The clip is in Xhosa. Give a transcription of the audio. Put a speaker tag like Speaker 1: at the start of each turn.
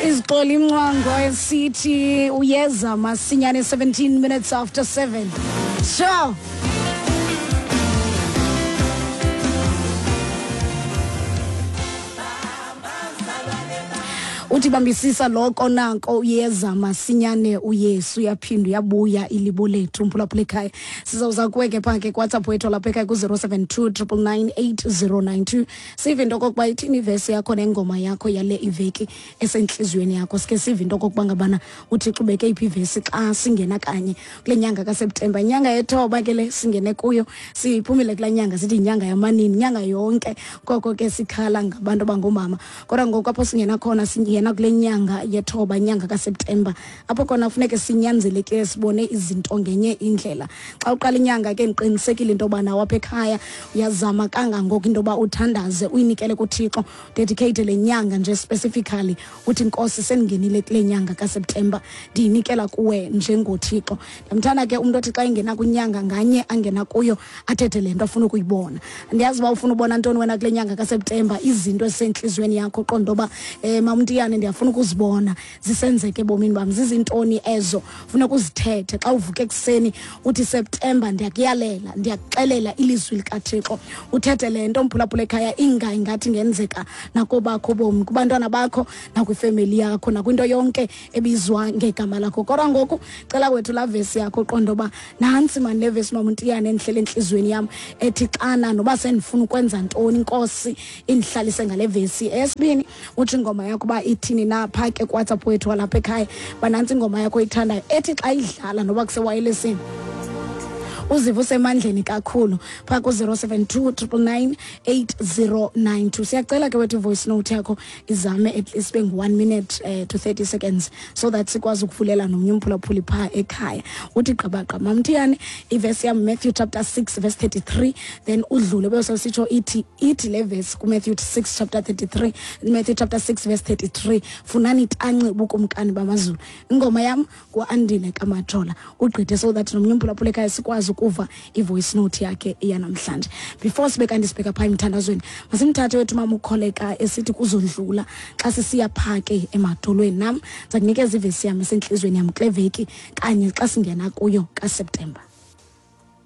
Speaker 1: Izixoli imncwango esithi uyeza masinyane, 17 minutes after 7. So uthi bambisisa loko nako, uyeza masinyane uYesu, uyaphinda uyabuya ilibo lethu. Mphulaphula ekhaya, sizawuza kuwe ke phaa ke kuWhatsApp wethu lapha ekhaya ku-072 999 8092, sive into okokuba ithini ivesi yakho nengoma yakho yale iveki esentliziyweni yakho. Sike sive into okokuba ngabana uThixo ubeke iphi ivesi xa singena kanye kule nyanga kaSeptemba, inyanga yethoba ke le singene kuyo. Siphumile kulaa nyanga sithi yinyanga yamanini, inyanga yonke koko ke sikhala ngabantu abangoomama, kodwa ngoku apho singena khona, singena kule nyanga yethoba, inyanga kaSeptemba, apho khona funeke sinyanzelekile sibone izinto ngenye indlela. Xa uqala inyanga ke, ndiqinisekile into yoba nawe apha ekhaya uyazama kangangoko into yoba uthandaze, uyinikele kuThixo, dedicate le nyanga nje specifically, uthi, "Nkosi, sendingenile kule nyanga kaSeptemba, ndiyinikela kuwe njengoThixo." Ndiyamthanda ke umntu othi xa engena kwinyanga nganye angena kuyo athethe le nto afuna ukuyibona. Ndiyazi uba ufuna ubona ntoni wena kule nyanga kaSeptemba, izinto ezisentliziyweni yakho, qonda uba mamntiyane, ndiyafuna ukuzibona zisenzeka ebomini bam. Zizintoni ezo funeka uzithethe xa uvuka ekuseni, uthi, "Septemba, ndiyakuyalela, ndiyakuxelela ilizwi likaThixo"? Uthethe le nto, mphulaphula ekhaya, inga ingathi ingenzeka nakobakho ubomi, kubantwana bakho, nakwifemeli yakho, nakwinto yonke ebizwa ngegama lakho. Kodwa ngoku cela wethu laa vesi yakho, uqonda uba nantsi mani le vesi, mamuntiyane, endihlele entliziyweni yam, ethi xana noba sendifuna ukwenza ntoni, Inkosi indihlalise ngale vesi. Eyesibini, utsho ingoma yakho uba ithini na phaa ke kuWhatsApp wethu walapha ekhaya, banantsi ingoma yakho oyithandayo ethi xa idlala noba kusewayelesini uziva usemandleni kakhulu, phaa ku-072 999 8092. Siyacela ke wethu ivoice note yakho izame at least bengu-1 minute to 30 seconds, so that sikwazi ukuvulela nomnye umphulaphuli phaa ekhaya. Uthi gqabaqa, "Mamthiyane, ivesi yam, Matthew chapter 6 verse 33," then udlule beyosesitsho ithi le vesi kuMatthew 6 chapter 33, Matthew chapter 6 verse 33, "Funani tanci ubukumkani bamazulu." Ingoma yam nguAndile kaMajola. Ugqithe so that nomnye umphulaphula ekhaya sikwazi ukuva ivoice note yakhe yanamhlanje. Before sibe kanti sibheka phaa emthandazweni, masimthathe wethu mama ukholeka esithi kuzodlula xa sisiya phaa ke emadolweni. Nam ndiza kunikeza ivesi yam esentliziyweni yam kule veki kanye xa singena kuyo kaSeptemba.